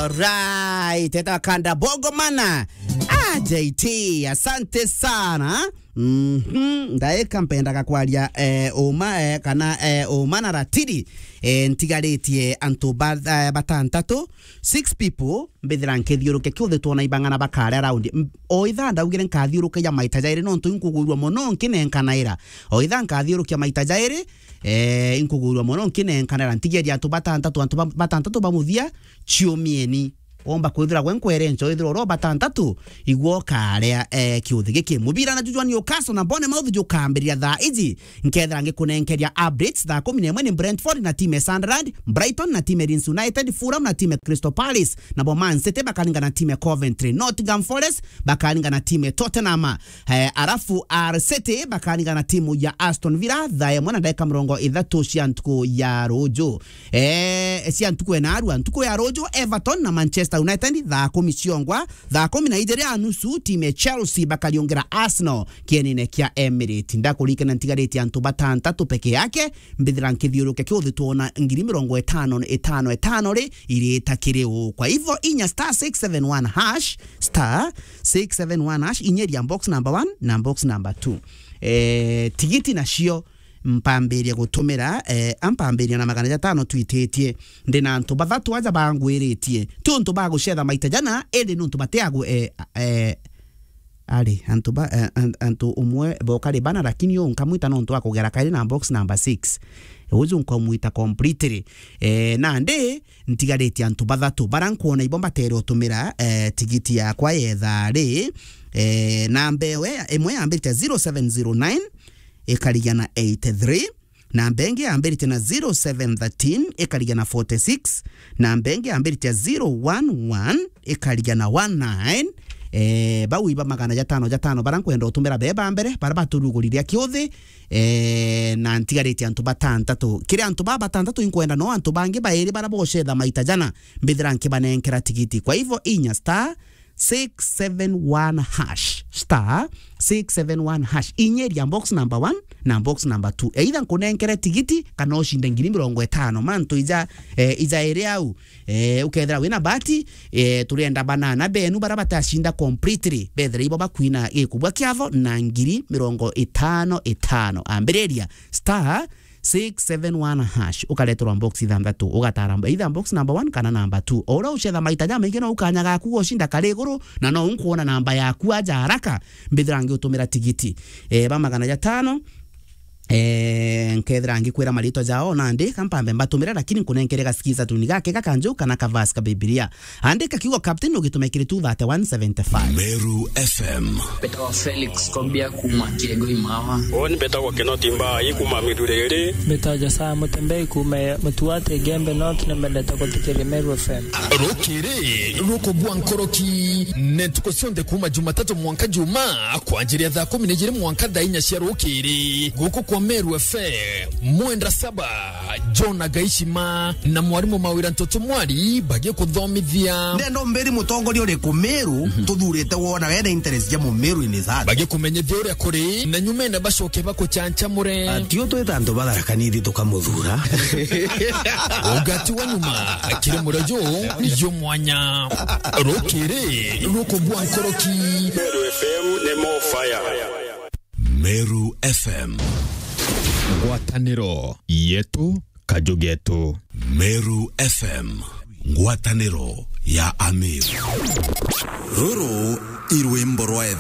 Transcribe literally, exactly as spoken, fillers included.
Alright, eta kanda bogo mana. Ah, J T, asante sana. Mhm, ndaika mpendaga kwaria, eh, uma, eh, kana, eh, uma na ratiri, eh, ntigaritie antu ba-, eh, batantatu, six people, mbithira nkithiuruke kiuthi twona ibang'ana bakare around. M-, o ithaa ndaugire nkathiurukagia maita jairi nontu inkugwirua mono nkinenkanaira. O ithaa nkathiurukia maita jairi, eh, inkugwirua mono nkinenkanaira. Ntigeria antu batantatu, antu ba-, batantatu ba muthia, ciumieni. Womba kwithira gwe nkwere ncho, ithira oro batantatu, igwo karea, eh, kiuthi giki. Mubira na jujwa Newcastle na Bournemouth jukambiriria thaa iji. Nkethira ngikunenkeria updates, thaa kumi na imwe ni Brentford na timu ya Sunderland, Brighton na timu ya Leeds United, Fulham na timu ya Crystal Palace, nabo Man City bakaringana na timu ya Coventry, Nottingham Forest bakaringana na timu ya Tottenham. Eh, arafu Al City bakaringana na timu ya Aston Villa, thaa imwe na ndagika mirongo ithatu cia ntuku ya ruju. Eh, cia ntuku ena arua, ntuku ya ruju, Everton na Manchester United, thaa kumi ciongwa, thaa kumi na ijiri a nusu, timu ya Chelsea bakariungira Arsenal kienine kia Emirates. Ndakurikana ntigaritie antu batantatu peke yake, mbithira nkithiuruke kiuthi twona ngiri mirongo itano, itano, itano ri, irita kiri u. Kwa hivyo, inya star six seven one hash, star six seven one hash, inyeria box number one na box number two. Eh, tigiti nacio mpambiria gutumira, eh, ampambiria na magana jatano twititie. Ndi na antu bathatu aja bangwiritie. Ti untu ba gucetha maita jana, indi ni untu batiagwe, eh, eh, ari, antu ba, eh, an-, antu umwe boka ri bana, lakini u nkamwita nontu wa kugera kairi na box number six. Uju nkamwita completely. Eh, nandi, ntigaritie antu bathatu bara nkwona ibo mbatere utumira, eh, tigiti yakwa yetha ri, eh, namba ewe, imwe yambirite zero seven zero nine, ikarigia na eighty three, namba ingi yambirite na zero seven thirteen, ikarigia na forty six, namba ingi yambirite zero one one, ikarigia na one nine. Eh, bau iba magana jatano jatano bara nkwenda utumira beba mbere, bara baturuguriria kiuthi, eh, na ntigaritie antu batantatu. Kiri antu ba batantatu inkwenda no antu bangi bairi bara bocetha maita jana, mbithira nkibanenkera tigiti. Kwa hivyo, inya star six seven one hash, star six seven one hash. Inyeria box number one na box number two. Either nkunenkere tigiti kana ucinde ngiri mirongo itano. Mantu ija, eh, ija iri au. Eh, ukethira wina bahati, eh, turienda banana benu bara batacinda completely. Bethira ibo bakwina gikubwa kiatho na ngiri mirongo itano itano. Ambiriria star six seven one hash, ukareterwa box ithanthatu, ugatara mb-, either box number one kana number two. O uria ucetha maita jamaingi, no ukanya gaku gocinda kari iguru, na no unkuona namba yaku aja haraka, mbithira ngiutumira tigiti. Eh, ba magana jatano, eh, nkethira ngikwira maritwa jao, nandi kampambe mbatumire, lakini nkunenkere gasikiza tuni gake gakanju kana kavasi ka Bibilia. Andika kiugo captain ugitume kiri two thirty one seventy five. Meru F M. Mbetagwa Felix Kobia kuma Kiego Imawa. Uni mbetagwa Kinoti Mbai kuma Miruriri. Mbetagwa Josiah Mutembei kuma Mutuate Igembe North, nimendete guthikiria Meru F M. Rukiri rukugwa nkoroki, ni ntuku cionthe kuma Jumatatu mwanka Juma, kwanjiria thaa kumi na ijiri mwanka thaa inya cia rukiri, guku kwa Meru F M. Mwenda Saba, John Agaishima na mwarimu Mawira Ntoto Mwari bagikuthomithia. Ndenda umbiri mutongoria uriku Meru tuthurite wona wena interest ja Mumeru in his heart. Bagikumenyithia uria kuri, na nyumene bacoke bakuchanchamure. Atio twita antu ba Tharaka Nithi tukamuthura. Ugati wa nyuma kiri murojo jumwanya. Rukiri rukugwa nkoroki. Meru F M ni more fire. Meru F M. Ngwataniro yetu, kaju getu. Meru F M, ngwataniro ya Ameru. Ruru i rwimbo rwa etha.